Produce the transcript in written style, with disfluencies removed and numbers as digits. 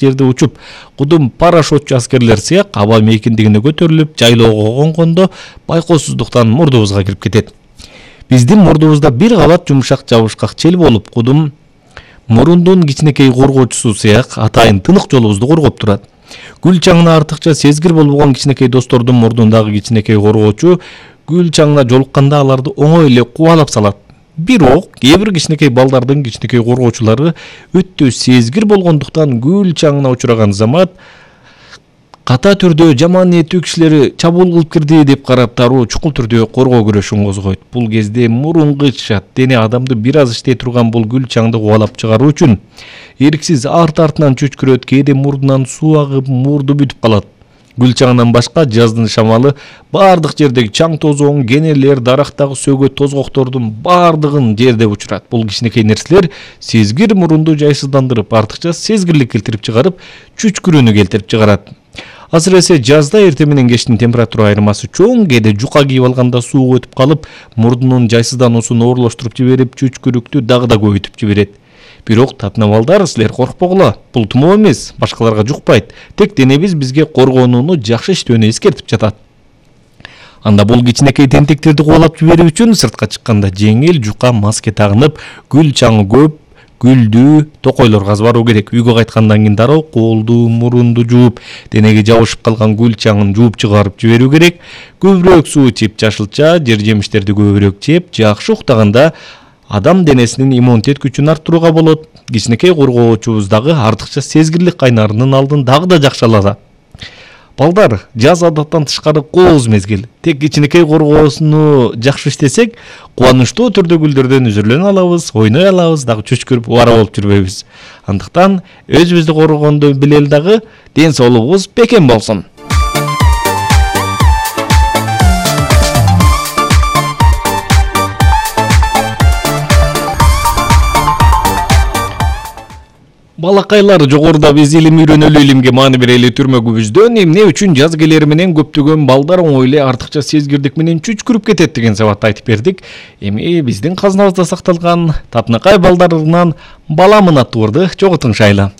жерде учуп, кудум парашютчу аскерлер сыяк аба мейкиндигине көтөрүлүп, жайлоого конгондо байкоосуздуктан мурдубузга кирип кетет. Биздин мурдубузда бир кабат жумшак жабышкак чел болуп, кудум мурундун кичинекей коргоочусу сыяк атайын тынык жолубузду коргоп турат. Гүл чаңына артыкча сезгир болбогон кичинекей достордун мурдундагы кичинекей коргоочу гүл чаңына жолукканда аларды оңой эле кубалап салат. Бирок кээ бир кичинекей балдардын кичинекей коргоочулары өтө сезгир болгондуктан гүл чаңына учураган замат ката түрдө жаман ниеттүү кишилери чабуул кылып кирди деп карап дароо чукул түрдө коргоо күрөшүн козгойт. Бул кезде мурун кычышат. Дене адамды бир аз иштей турган бул гүл чаңды кубалап чыгаруу үчүн эрксиз арт-артынан чөчкүрөт, кээде мурдунан суу агып, мурду бүтүп калат. Гүл чаңынан башка жаздын шамалы бардык жердеги чаң тозоң, кенелер, дарактагы сөгөт тозгоктордун бардыгын жерде учурат. Бул кичинекей нерселер сезгир мурунду жайсыздандырып, артыкча сезгирлик келтирип чыгарып, чүчкүрүүнү келтирип чыгарат. Азыресе жазда эртең менен кечтин температура айырмасы чоң, кээде жука кийип алганда суу өтүп калып, мурдунун жайсыздануусун оорлоштуруп жиберип, чүчкүрүктү дагы да көбөйтүп жиберет. Бирок татына балдар, силер коркпогула. Бул тумоо эмес, башкаларга жукпайт. Тек денебиз бизге коргонууну жакшы иштөөнү эскертип жатат. Анда бул кичинекей тентектерди кубалап жиберүү үчүн сыртка чыкканда жеңил жука маска тагынып, гүл чаңы көп, гүлдүү токойлор казбаруу керек. Үйгө кайткандан кийин дароо колду, мурунду жууп, денеге жабышып калган гүл чаңын жууп чыгарып жиберүү керек. Көбүрөөк суу ичип, жашылча, жер жемиштерди көбүрөөк жеп, жакшы уктаганда адам денесинин иммунитет күчүн арттырууга болот. Кичинекей коргоочубуздагы артыкча сезгирлик кайнарынын алдын дагы да жакшы алат. Балдар, жаз адаттан тышкары кооз мезгил. Тек кичинекей коргоосуну жакшы иштесек, кубанычтуу түрдө гүлдөрдөн үзүрлөнө алабыз, ойной алабыз, дагы чөчкүрүп убара болуп жүрбөйбүз. Андыктан өзүбүздү коргогонду билели дагы, ден соолугубуз бекем болсун. Балакайлар, жогоруда биз илим үйрөнөлү, илимге маани берели түрмөгүбүздөн эмне үчүн жаз келери менен көптөгөн балдар оңой эле артыкча сезгирдик менен чүчкүрүп кетет деген сабатты айтып бердик. Эми биздин казынабызда сакталган татынакай балдарынан Баламын аттуу ырды чоготуңшайлы.